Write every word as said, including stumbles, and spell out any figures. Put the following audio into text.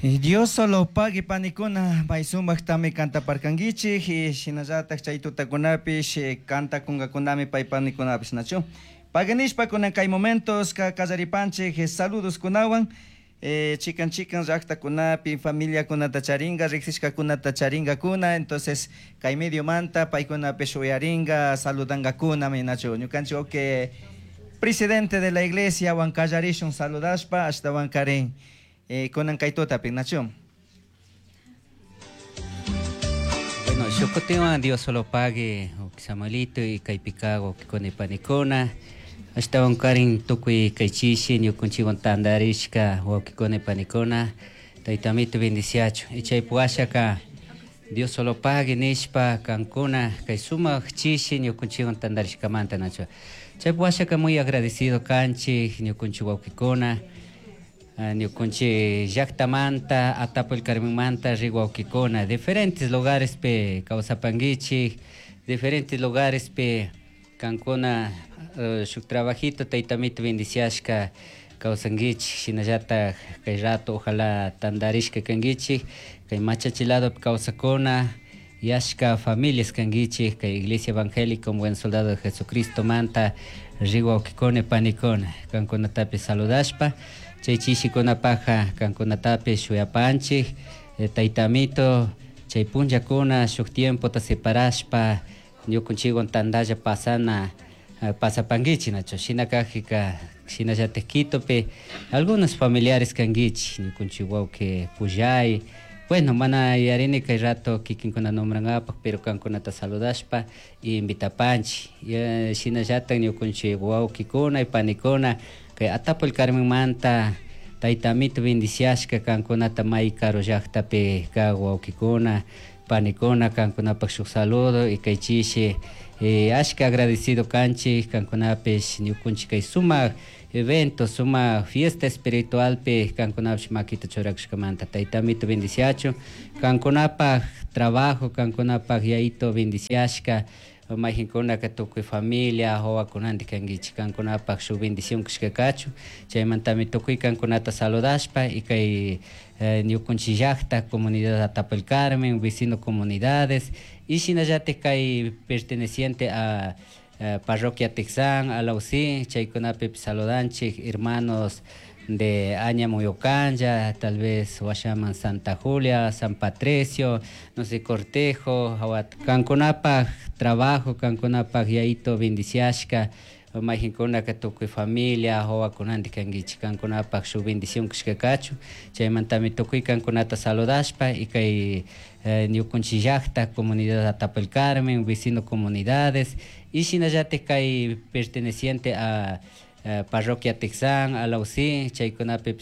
Dios solo pague panikuna may sumaktami cantaparkankichik y shinallatak chay tutakunapish cantakunkakunami pay panikunapish nachu paganishpa kunan kay momentos ka kallaripanchik saludos kunawan eh, chikan chikan llaktakunapi familiakunata charinga riksishkakunata charingakuna entonces kay mediomanta paykunapish uyaringa saludangakunami nachu ñukanchik okay presidente de la iglesia wan kallarishun saludashpa ashtawan karin eh, kunan kay tutapi nachu Bueno, shukutiwan Dios solo pague, Samuelito y kaypika wawkikuna panikuna ashtawan karin tukuy kay chishi ñukunchikwan tantarishka wawkikuna panikuna tayta amito bendiciachun y chaypi washaka Dios solo pague nishpa kankuna kay sumak chishi ñukunchikwan tantarishkamanta nachu chaypi washaka muy agradecido kanchik ñukunchik wawkikuna ñukunchik llaktamanta Atapo el Carmenmanta rik wawkikuna diferentes lugares pi kawsapankichik diferentes lugares pi kankuna shuk trabajito tayta amito bendiciashka kawsankichik shinallatak kay rato ojalá tantarishka kankichik kay Machachi ladopi kawsakuna yashka familias kankichik kay Iglesia Evangélica Un Buen Soldado de Jesucristo manta rik wawkikuna panikuna kankunatapish saludashpa chay chishikunapaka kankunatapish shuyapanchik tayta amito chay punllakuna shuk tiempota separashpa ñukunchikwan tantalla pasana pasapankichik nachu shina kakpika shinallatik Quitopi algunos familiares kankichik ñukunchik wawki Pullay bueno mana yuyarini kay rato kikinkuna nombrankapak pero kankunata saludashpa y invitapanchik shinallatak ñukunchik wawkikuna y panikuna kay Atapo el Carmenmanta tayta amito bendiciashka kankunata may karu llaktapi kak wawkikuna panikuna kankunapak shuk saludo y kay chishi ashka agradecido kanchik kankunapish ñukunchik kay sumak evento sumak fiesta espiritualpi kankunapish makita churakushkamanta tayta amito bendiciachun kankunapak trabajo kankunapak yayito bendiciashka mayjinkunaka tukuy familia wawakunantik kankichik kankunapak shuk bendición kashka kachun chaymantami tukuy kankunata saludashpa y kay ñukunchik llakta comunidad Atapo el Carmen vecino comunidades y shinallatik kay perteneciente a parroquia Tixán, Alausí, chaykunapi saludanchik hermanos de Aña Muyocanya, tal vez washaman Santa Julia, San Patricio, no sé, Cortejo, kankunapak trabajo, kankunapak yayito bendiciashka, mayjinkunaka tukuy familia wawakunantik kankichik kankunapak shuk bendición kashka kachun chaymantami tukuy kankunata saludashpa y kay ñukunchik llakta comunidad Atapo el Carmen, vecino comunidades y shinallatik kay perteneciente a parroquia Tixán, Alausí, chaykunapi